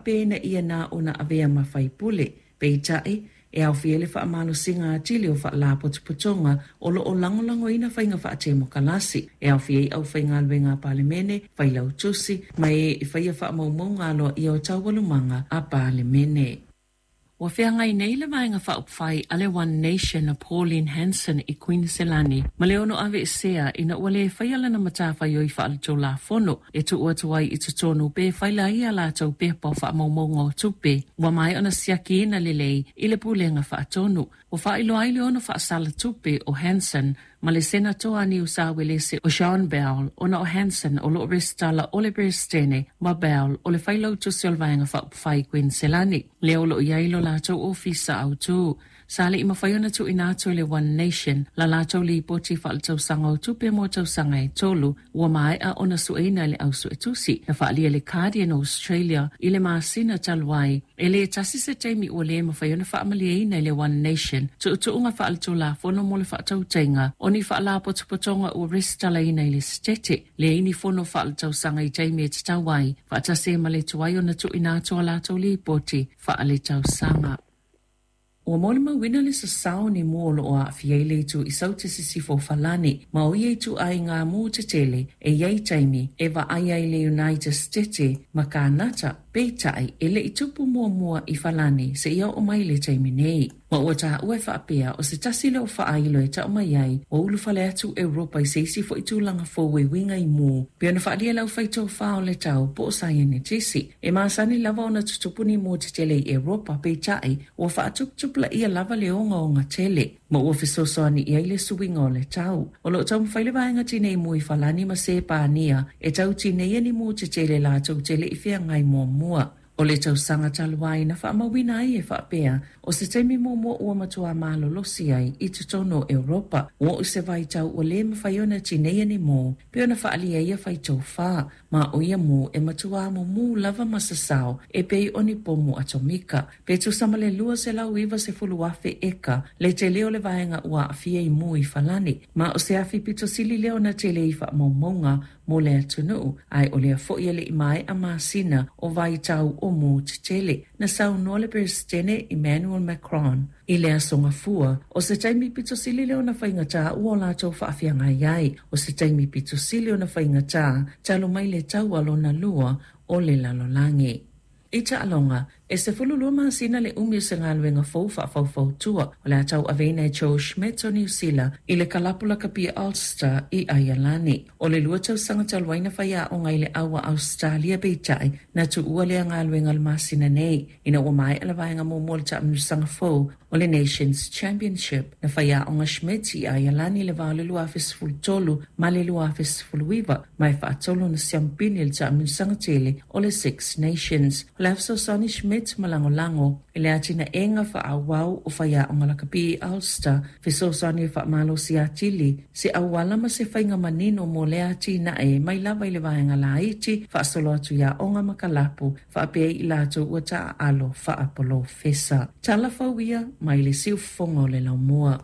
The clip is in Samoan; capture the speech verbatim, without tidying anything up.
faapea ina ia na ona avea ma faipule. Peitai, e aofia le faamalosiga atili o faalapotopotoga o loo lagolagoina faiga faatemokalasi, e aofia ai aufaigaluega a Palemene, failautusi ma e e faia faamaumauga aloaia o taualumaga a Palemene. Ua feagai nei le Vaega Faaupufai a le One Nation a Pauline Hanson i Kuiniselani ma le ono aveesea ina ua lē faia lana matafaioi faaletulafono e tuu atu ai i totonu pe faila ai a latou pepa o faamaumauga o tupe ua maea ona siakiina lelei i le Pulega Faatonu. Ua faailoa ai le ono faasala tupe o Hanson ma le Senatoa Niu Sa Uelese o Sean Bell, ona o Hanson o loo resitala o le Peresetene ma Bell o le failautusi o le Vaega Faaupufai Kuiniselani lea o loo i ai lo latou ofisa autū. Sa le'i mafai ona tuuina atu e le One Nation la latou lipoti faaletausaga o tupe mo tausaga e tolu ua maea ona sueina e le au suetusi, na faaalia le Guardian Australia i le masina talu ai. E lē tasi se taimi ua lē mafai ona faamalieina e le One Nation tuutuuga faaletulafono mo le faatautaiga o ni faalapotopotoga ua resitalaina i le Setete, leai ni fono faaletausaga i taimi e tatau ai, faatasi ai ma le tuai ona tuuina atu a latou lipoti faaletausaga. Ua molimauina le sasao ni mu o loo aafia ai le itu i Saute Sisifo o Falani, ma o ia ituaiga mu tetele e i ai taimi e vaai ai le United States ma Kanata. Peitai, e le'i tupu muamua i Falani seia oo mai le taimi nei. Ma ua taua e faapea o se tasi lea o faailo e tau mai ai ua ulufale atu Europa i se isi fo'i tulaga fou e uiga i mu, pei ona faaalia le aufaitofā o le tau po o saienitisi. E masani lava ona tutupu ni mu tetele i Europa, peitai ua faatuputupulaia lava le ogaoga tele ma ua fesoasoani i ai le suiga o le tau. O loo taumafai le Vaega Tinei Mu i Falani ma Sepania e tau tineia ni mu tetele latou te le'i feagai muamua. O le tausaga talu ai na faamauina ai e faapea o se taimi muamua ua matuā malolosi ai i totonu o Europa ua oo i se vaitau ua lē mafai ona tineia ni mu, pei ona faaalia ia faitofā, ma o ia mu e matuā mumū lava ma sasao e pei o ni pomu atomika. Pe tusa ma le lua selau iva sefulu afe eka le tele o le vaega ua aafia i mu i Falani, ma o se afi pito sili lea ona tele i faamaumauga mo le atunuu, ae o lea fo'i e le'i maea masina o vaitau o mu tetele. Na saunoa le Peresetene Emmanuel Macron i le aso Gafua o se taimi pito sili lea ona faigata ua o latou faafeagai ai, o se taimi pito sili ona faigata talu mai le Taua Lona Lua o le Lalolagi. I taaloga, e sefulu lua masina le umi o se galuega fou faafaufautua o le a tauaveina e Joe Schmidt o Niusila i le kalapu lakapi Ulster i Aialani. O le lua tausaga talu ai na faiaoga i le aua Ausetalia, peitai na tuua lea galuega le masina nei ina ua maea le vaega muamua o le taamilosaga fou o le Nations Championship. Na faiaoga Schmidt i Aialani le va o le lua afe sefulu tolu ma le lua afe sefulu iva, ma e faatolu ona siampini le taamilosaga tele o le Six Nations. O le a fesoasoani Schmidt ma lagolago i le atinaega faaauau o faiaoga lakapi i Ulster, fesoasoani e faamalosi atili se auala ma se faiga manino mo lea atinae mai lava i le vaega laiti faasolo atu i aoga ma kalapu, faapea i latou ua taaalo faapolofesa. Tala fau ia mai le siufofoga o le laumua.